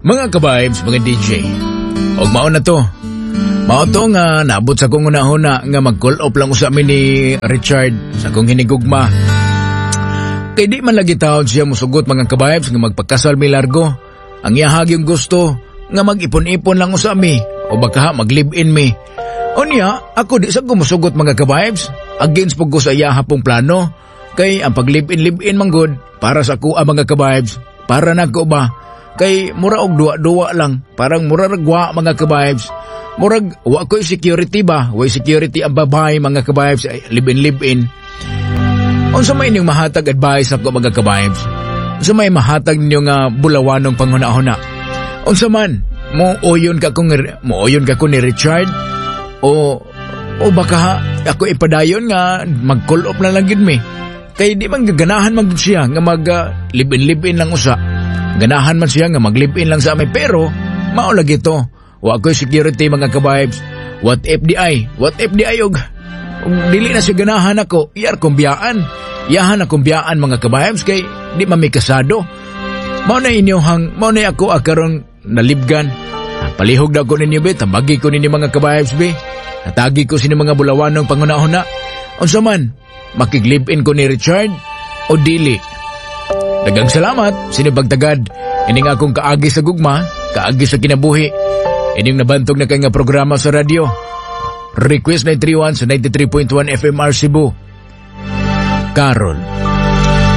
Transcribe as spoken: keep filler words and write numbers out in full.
Mga ka-vibes, mga D J. Og mao na to. Mao to nga naabot sa akong hunahuna nga mag-call off lang usa mi ni Richard sa akong hinigugma. Kay di man lagi taon siya musugot, mga ka-vibes, nga magpakasal mi largo. Ang iyahag yung gusto nga mag-ipon-ipon lang usa mi o baka mag-live-in mi. Unya, ako di sa ko musugot, mga ka-vibes. Against po ko sa iyaha pong plano. Kay ang pag-live-in live-in man gud para sa ako ang mga ka-vibes. Para nako ba? Kay mura og duwa-duwa lang. Parang mura ragwa, mga ka-vibes. Murag wa ko'y security ba? Way security ang babae, mga ka-vibes. Ay, live-in live-in. Unsa may inyong mahatag advice ako, mga ka-vibes? Unsa may mahatag ninyo nga bulawanong panghuna-huna? Unsa man mo uyon ka kung mo uyon ka ko ni Richard o o baka ako ipadayon nga mag-call off na lang gid mi? Kay di man ganahan man gid siya nga mag uh, live-in live-in lang usa. Ganahan man siya nga mag live-in lang sa amin, pero mao lagi to. Wa ko'y security, mga ka-vibes. What if di ay? What if di ay og og dili na siya ganahan ako, iyar kong biyaan. Iyahan akong biyaan, mga ka-vibes, kay di man mi kasado. Mao na inyohang, mao na ako akaron nalibgan. Palihog na ko ninyo be, tambagi ko ninyo, mga ka-vibes be. Natagi ko sino mga bulawanong panghuna-huna. Unsa man, makig-live-in ko ni Richard o dili? Daghang salamat, sinibagtagad. Ining akong kaagi sa gugma, kaagi sa kinabuhi. Ining nabantog na kay nga programa sa radyo. Request nine three one sa ninety-three point one F M R Cebu. Carol.